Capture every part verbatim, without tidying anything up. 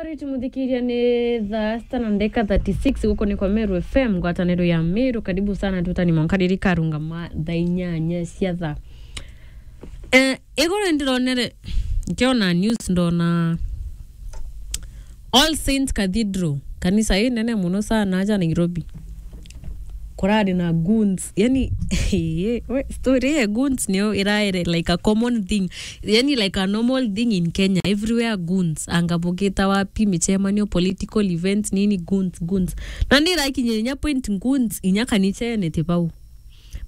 Alright, muthikiria, ni thaa sita na ndeka thirty-six, guku ni kwa Meru F M, ngwataniro ya Meru. Karibu sana, tutani mwanka riri karungama thaa inyanya cia thaa. Eh, iguru ndironere, nkiona news, ndona All Saints Cathedral, kanisa ii nene muno sana aja Nairobi. Kurari na goons. Yani, we, story ya goons niyo iraere like a common thing. Yani, like a normal thing in Kenya. Everywhere goons. Anga bugita wapi, michemanio, political events, nini, goons, goons. Na ndirakinya inya point goons, inya kanichene ti bau.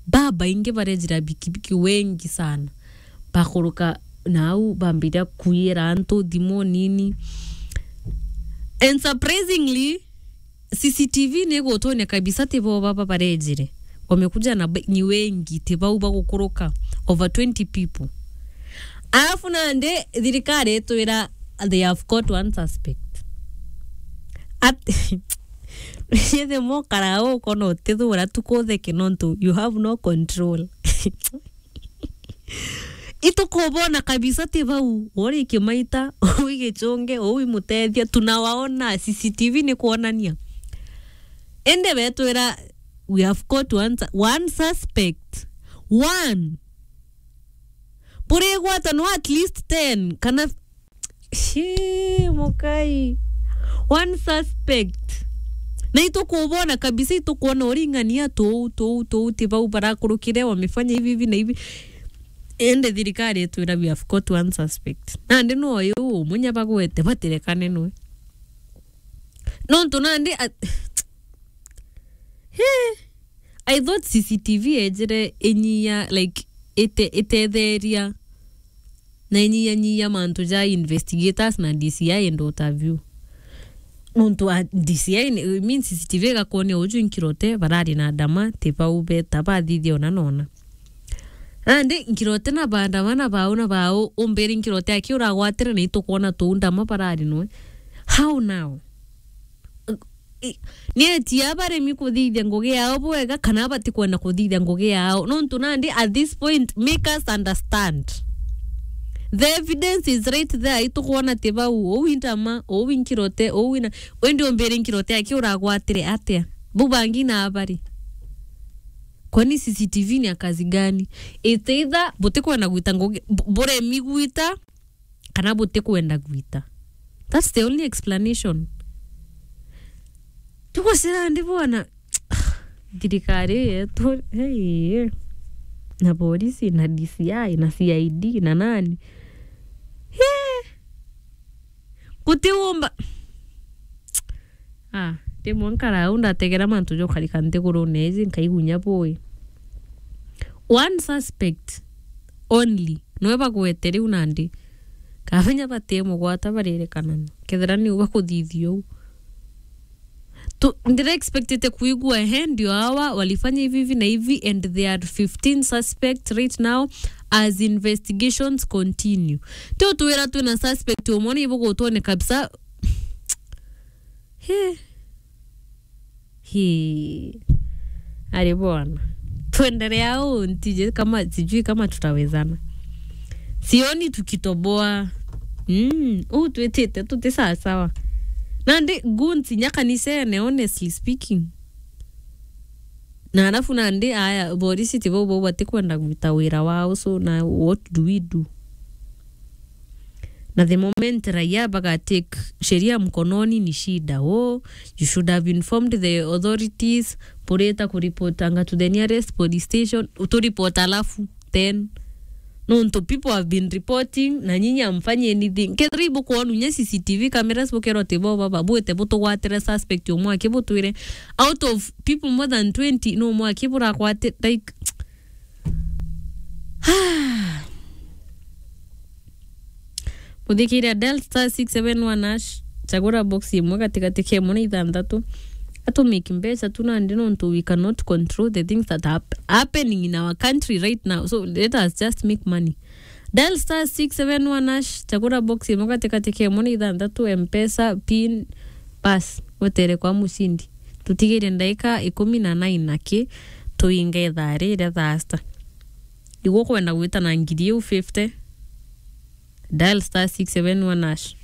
Babaingi barejira bikibiki wengi sana. Bakuruka nau, bambiria kuiyira antu thimu nini. And surprisingly, C C T V ni gutonya kabisa ti bo baba barejire. Wamekuja na ba-, ni wengi, ti bau bagukuruka. Over twenty people. Alafu nandi thirikari itwira they have caught one suspect. At-, yethe mokara ukona utithura tu kutheke nontu you have no control. Itukubona kabisa ti bau, uri Kimaita, ui Gichungi, ui Mutethia, tunawaona, C C T V ni kuonania. Indi betwira, "We have caught one, su- one suspect." One. Burigwata no at least ten, kana Shii, mukai. One suspect. Na itukubona kabisa, itukuona uring'ania tuu, tuu, tuu, ti bau barakurukire, wamefanya hivi, hivi na hivi. Ende thirikari itwira, "We have caught one suspect." Nandi no uyu umwe nya bagwete, batirekane nwe. Nontu nandi a-, He, I thought C C T V ejire inyia, like, ite-, itetheria na inyia nyia mantu ja investigators na D C I and what have you. Nontu a D C I ni, I mean, C C T V igakuonia uju Nkirote barari na ndama, ti bau beta bathithia ona nona. Nandi Nkirote na bandama na bau na bau, umbiri Nkirote aki uragwatire na itukuona tuu ndama barari nwe. How now? I-, ni etia baremi kuthithia ngugi yao bwega, kana batikwenda kuthithia ngugi yao? Nontu nandi, at this point, make us understand. The evidence is right there. Itukwona ti bau, uu i ndama, uu i Nkirote, uu i na, indi umbiri Nkirote aki uragwatire atia? Bau bangi na abari. Kwani C C T V ni ya kazi gani? It's either butikwenda gwita ngugi, bu-, buremi gwita, kana butikwenda gwita. That's the only explanation. Tugucira ndi bwana, thirikari yetu, hey, na polisi, na D C I, na C I D, na nani? Hey! Gutiumba. Ah, rimwe nkara au ndategera mantu jokarika nthigurune iji, nkaigunya bui. One suspect only, noe bagwete riu nandi. Kabinya batimugwata barirekanana. Kethira niu bakuthithia uu. Tu-, ndira expectete kuigua, ehe, ndio hawa walifanya hivi, hivi na hivi, and there are fifteen suspects right now as investigations continue. Ti utwira twina suspect umwe ni ibugutwone kabisa. He. He. Ari bwana. Tuendelea au, ntije kama, sijui kama tutawezana. Sioni tukitoboa. Mm, uu twitite tuti sawa sawa. Nandi goons inya kanisene, honestly speaking. Na alafu nandi, aya, borisi ti bau bau batikwenda gwita wira wao, so na what do we do? Na the moment raia baga take sheria mkononi ni shida. Oh, you should have informed the authorities, burita kuripotanga to the nearest police station, uturipota alafu then. Nontu people have been reporting, na nyinyi amfanyi anything. Kethira ibukwonu nya C C T V cameras bukerwa ti bo baba, bwite butugwatire suspect umwe aki butwire. Out of people more than twenty, no umwe aki buragwati-, like, Muthikiria, dial star six seven one hash, chagura box imwe gatigati ka imwe na ithanthatu. Atumiki mbeca tu nandi nontu we cannot control the things that are hap-, happening in our country right now. So let us just make money. Dial star six seven one hash, chagura box imwe gatigati ka imwe na ithanthatu, M-Pesa, pin, pass, wetere kwa mushindi. Tutigire ndaika ikumi na nine aki, tuinge ithaa riria thaa sita. Iguo kwenda gwita na ngiri iu fifty, dial star six seven one hash.